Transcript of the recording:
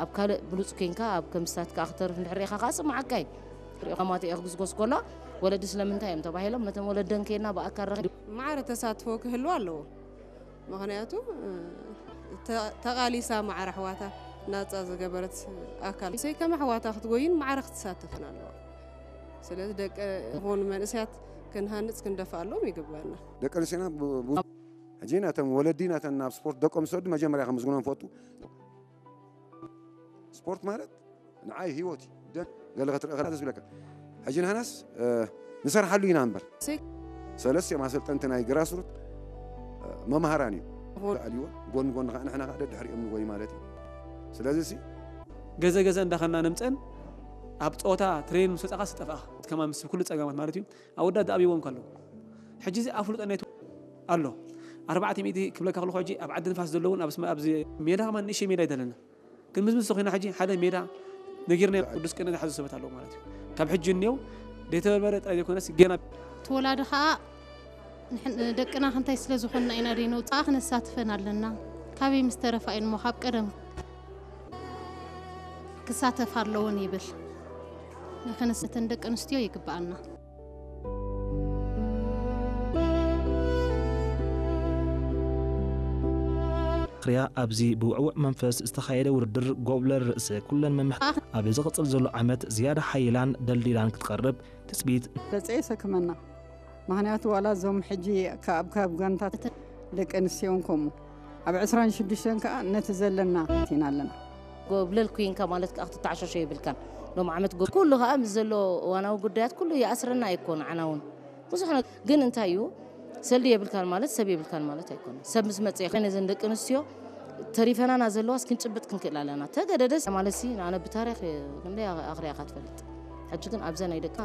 ኣብ ካልእ ብሉጽ ኮይንካ ኣብ ከምስታት ከኣ ክተርፍ እንድሕር ርኢኻ ከኣ ጽማዓካ እዩ። ሪኦ ማማት እየ ክጉስጎስ ከሎ ወለዲ ስለምንታይ እዮም ተባሂሎም ነቶም ወለደን ከይና ብኣካል ረኺ ማዕረ ተሳትፎ ክህልዎ ኣለዎ። ምኽንያቱ ተቓሊሳ ማዕረ ኣሕዋታ ናጻ ዝገበረት ኣካል ሰይ ከም ኣሕዋታ ክትጎይን ማዕረ ክትሳተፍን ኣለዋ። ስለዚ ደቂ ይኹን መንእስያት ክንሃንጽ ክንደፍኣሎም ይግባና። ደቂ ኣንስትዮና ሕጂ ናተን ወለዲ ናተን ናብ ስፖርት ደቆም ዝሰዱ መጀመርያ ከምዝግኖም ፈቱ። ስፖርት ማለት ንዓይ ህይወት እዩ። ገለ ክትርኢ ከላ ደስ ይብለካ። ሕጂ ንሕናስ ንሰርሓሉ ኢና እምበር ሰለስቲኦም ኣሰልጠንቲ ናይ ግራስሩት መምሃራን እዩ ኣልዎ ጎን ጎን ከዓ ንሕና ከዓ ደድሕሪኦም ንጎይ ማለት እዩ። ስለዚ ሲ ገዘ ገዘ እንዳኸና ነምፀን ኣብ ፀወታ ትሬን ምስ ወፃኻ ስጠፍኣ ከማ ምስ ኩሉ ፀገማት ማለት እዩ። ኣወዳት ዝኣብይዎም ከለዉ ሕጂ እዚ ኣፍሉጦ ናይቱ ኣሎ ኣርባዕተ ሚእቲ ክብለካ ከለኹ ሕጂ ኣብ ዓዲ ንፋስ ዘለውን ኣብዚ ሜዳ ከማ ንእሽተይ ሜዳ ይደለና ግን ምስ ምስ ተኾይና ሕጂ ሓደ ሜዳ ነጊርና ቅዱስ ቅነ ዝሓዙ ሰባት ኣለዉ ማለት እዩ። ካብ ሕጂ እኒው ደይተበርበረ ጥራይ ዘይኮነስ ገና እቲ ወላዲ ከዓ ደቅና ክንታይ ስለ ዝኾንና ኢና ደይነውፅኣ ክነሳትፈን ኣለና። ካበይ ምስ ተረፋ እዩን እሞ ካብ ቀደም ክሳተፍ ኣለዎን ይብል። ንክንስተን ደቂ ኣንስትዮ ይግብኣና። ክሪያ ኣብዚ ብውዕውዕ መንፈስ ዝተኻየደ ውድድር ጎብለል ርእሰ ኩለን መምሕ ኣብ ዝቕጽል ዘሎ ዓመት ዝያዳ ሓይላን ደልዲላን ክትቐርብ ትጽቢት። ደጸ የሰክመና ምኽንያቱ ዋላ እዞም ሕጂ ካብ ካብ ጋንታት ደቂ ኣንስትዮን ከምኡ ኣብ ዕስራን ሽዱሽተን ከኣ ነቲ ዘለና ኢና ኣለና። ጎብለል ኩንካ ማለት ከኣ ክትተዓሻሾ የብልካን። ሎም ዓመት ጎ- ኩሉ ከኣ ምስ ዘሎ እዋናዊ ጉዳያት ኩሉ ይኣስረና ኣይኮን ዓና እውን ብዙሕ ነገር ግን እንታይ እዩ ሰልዲ የብልካን ማለት ሰብ የብልካን ማለት ኣይኮነን። ሰብ ምስ መፀ ይኸ ነዘን ደቂ ኣንስትዮ ተሪፈናና ዘለዋስ ክንጭብጥ ክንክእል ኣለና። ተገደደስ ማለት ሲ ኣነ ብታሪክ ክንደይ ኣኽሪያካ ትፈልጥ። ሕጂ ግን ኣብዘ ናይ ደቂ